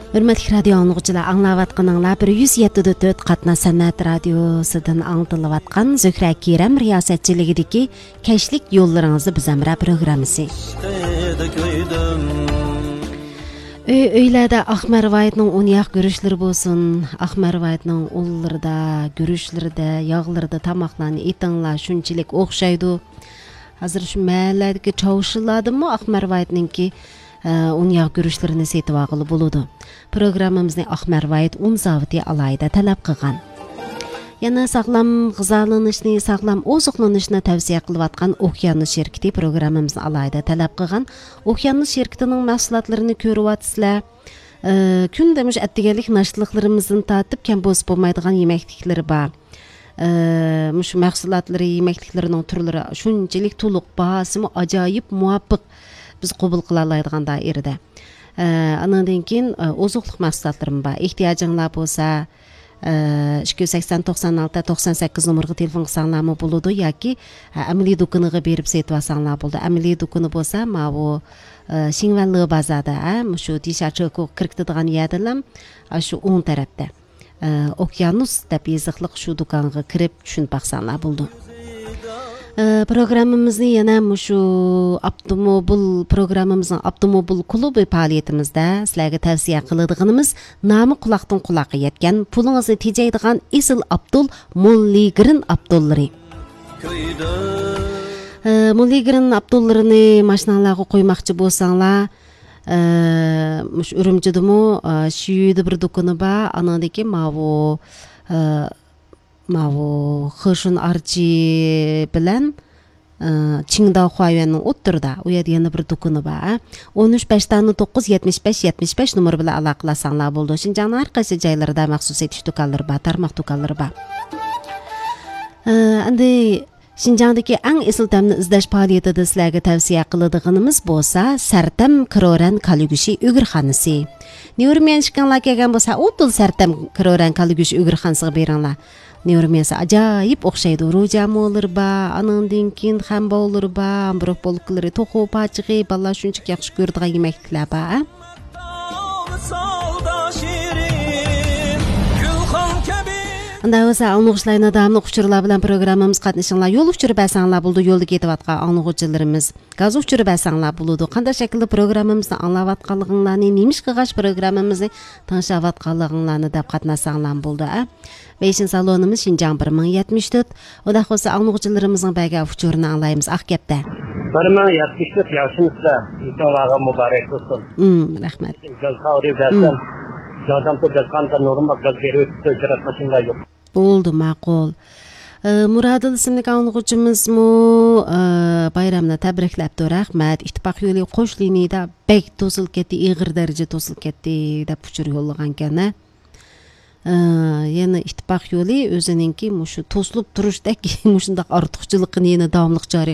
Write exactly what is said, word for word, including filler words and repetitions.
ھۆرمەتلىك رادىيو ئاڭلىغۇچىلار، ئاڭلاۋاتقىنىڭلار بىر يۈز يەتتە دۆت تۆت قاتناش سەنئەت رادىيوسىدىن ئاڭلىتىلىۋاتقان زۆھرە كېرەم رىياسەتچىلىكىدىكى كەچلىك يوللىرىڭىزدا بىز ھەمراھ پروگراممىسى. ئۆي-ئۆيلەردە ئاق مەرۋايىتنىڭ ئۇنياق گۈرۈچلىرى بولسۇن، ئاق مەرۋايىتنىڭ ئۇنلىرىدا، گۈرۈچلىرىدە، ياغلىرىدا تاماقلارنى ئېتىڭلار، شۇنچىلىك ئوخشايدۇ. ھازىر شۇ مەھەللەدىكى چاۋشىلاردىمۇ ئاق مەرۋايىتنىڭكى، ئە، ئۇنياغ گۈرۈچلىرىنى سېتىۋالغىلى بولىدۇ. پروگراممىمىزنى ئاق مەرۋايىت ئۇن زاۋۇتى ئالاھىدە تەلەپ قىلغان. يەنە ساغلام غىزالىنىشنى، ساغلام ئوزۇقلىنىشنى تەۋسىيە قىلىۋاتقان ئوكيانۇس شىركىتى پروگراممىمىزنى ئالاھىدە تەلەپ قىلغان. ئوكيانۇس شىركىتىنىڭ مەھسۇلاتلىرىنى كۆرۈۋاتىسىلەر. ئە، كۈندە مۇشۇ ئەتىگەنلىك ناشتىلىقلىرىمىزدىن تارتىپ كەم بولسا بولمايدىغان يېمەكلىكلىرى بار. ئە، مۇشۇ مەھسۇلاتلىرى، يېمەكلىكلىرىنىڭ تۈرلىرى شۇنچىلىك تولۇق، باھاسىمۇ ئاجايىپ مۇۋاپىق، بىز قوبۇل قىلالايدىغان دائىرىدە. ئە، ئانىڭدىن كېيىن، ئە، ئوزۇقلۇق مەھسۇلاتلىرىمۇ بار. ئېھتىياجىڭلار بولسا، ئە، ئىككى يۈز سەكسەن، توقسان ئالتە، توقسان سەككىز نومۇرغا تېلېفون قىلساڭلارمۇ بولىدۇ ياكى، ئە، ئەمەلىي دۇكىنىغا بېرىپ سېتىۋالساڭلار بولىدۇ. ئەمەلىي دۇكىنى بولسا ماۋۇ، ئە، شىڭۋەنلې بازاردا، ئە، مۇشۇ دىشا چېكوغا كىرىپ كېتىدىغان يەردىلا، ئاشۇ ئوڭ تەرەپتە. ئە، ئوكيانۇس دەپ يېزىقلىق شۇ دۇكانغا كىرىپ چۈشىنىپ باقساڭلار بولىدۇ. ئە، پروگراممىمىزنى يەنە مۇشۇ ئاپتوموبىل، پروگراممىمىزنىڭ ئاپتوموبىل كۇلۇبى پائالىيىتىمىزدە سىلەرگە تەۋسىيە قىلىدىغىنىمىز نامى قۇلاقتىن قۇلاققا يەتكەن، پۇلىڭىزنى تېجەيدىغان ئېسىل ئابدۇل موللىگرىن ئابدۇللىرى. ئە، موللىگرىن ئابدۇللىرىنى ماشىناڭلارغا قويماقچى بولساڭلار، ئە، مۇشۇ ئۈرۈمچىدىمۇ، ئە، شىيۈدە بىر دۇكىنى بار، ئانىڭدىكى ماۋۇ، ئە، ماۋۇ خېشۇن ئارچى بىلەن، ئە، چىڭداۋ خۇايۈەننىڭ ئوتتۇرىدا، ئۇ يەردە يەنە بىر دۇكىنى بار، ئە. ئون ئۈچ، بەش دانە توققۇز، يەتمىش بەش، يەتمىش بەش نومۇرى بىلەن ئالاقىلەشسەڭلار بولىدۇ. شىنجاڭنىڭ ھەر قايسى جايلىرىدا مەخسۇس سېتىش دۇكانلىرى بار، تارماق دۇكانلىرى بار. ئە، ئەمدى شىنجاڭدىكى ئەڭ ئېسىل تەمنى ئىزدەش پائالىيىتىدە سىلەرگە تەۋسىيە قىلىدىغىنىمىز بولسا سەرتەم كرورەن كالا گۆشى ئۆگرىخانىسى. نيۇرميەنشىكىڭلار كەلگەن بولسا، ئۇدۇل سەرتەم كرورەن كالا گۆشى ئۆگرىخانىسىغا بېرىڭلار. نيۇرميەنسى ئاجايىپ ئوخشايدۇ. روجامولىرى بار، ئانىڭدىن كېيىن خەنباۋلىرى بار، ئامبروك بولكىلىرى، توخۇ پاچىقى، بالىلار شۇنچىلىك ياخشى كۆرىدىغان يېمەكلىكلەر بار، ھە؟ ئۇنداق بولسا، ئاڭلىغۇچىلار، يەنە داۋاملىق ئۇچۇرلار بىلەن پروگراممىمىزغا قاتنىشىڭلار. يول ئۇچۇرى بەرسەڭلار بولىدۇ، يولدا كېتىۋاتقان ئاڭلىغۇچىلىرىمىز. گاز ئۇچۇرى بەرسەڭلار بولىدۇ. قانداق شەكىلدە پروگراممىمىزنى ئاڭلاۋاتقانلىقىڭلارنى، نېمە ئىش قىلغاچ پروگراممىمىزنى تىڭشاۋاتقانلىقىڭلارنى دەپ قاتناشساڭلارمۇ بولىدۇ، ئە. فېشن سالونىمىز شىنجاڭ بىر مىڭ يەتمىش تۆت. ئۇنداق بولسا، ئاڭلىغۇچىلىرىمىزنىڭ بەرگەن ئۇچۇرىنى ئاڭلايمىز، ئاق گەپتە. بىر مىڭ يەتمىش تۆت، ياخشىمۇسىلەر؟ ئېيتىڭلارغا مۇبارەك بولسۇن. ئىم، رەھمەت. گاز خەۋىرى بەرسەم، ئىم. ياردەم قىلىپ بەرسەڭ، نۇرۇم گاز بېرىپ ئۆتۈپ، ئىجرا قىلىشىڭلار يوق. بولدى، ماقۇل. ئە، مۇرادىل ئىسىملىك ئاڭلىغۇچىمىزمۇ، ئە، بايرامنى تەبرىكلەپتۇ، رەھمەت. ئىتتىپاق يولى قوش لىنىيىدە بەك توسۇلۇپ كەتتى، ئېغىر دەرىجىدە توسۇلۇپ كەتتى، دەپ ئۇچۇر يوللىغانىكەن، ھە. ئە، يەنە ئىتتىپاق يولى ئۆزىنىڭكى مۇشۇ توسۇلۇپ تۇرۇشتەك مۇشۇنداق ئارتۇقچىلىقىنى يەنە داۋاملىق جارى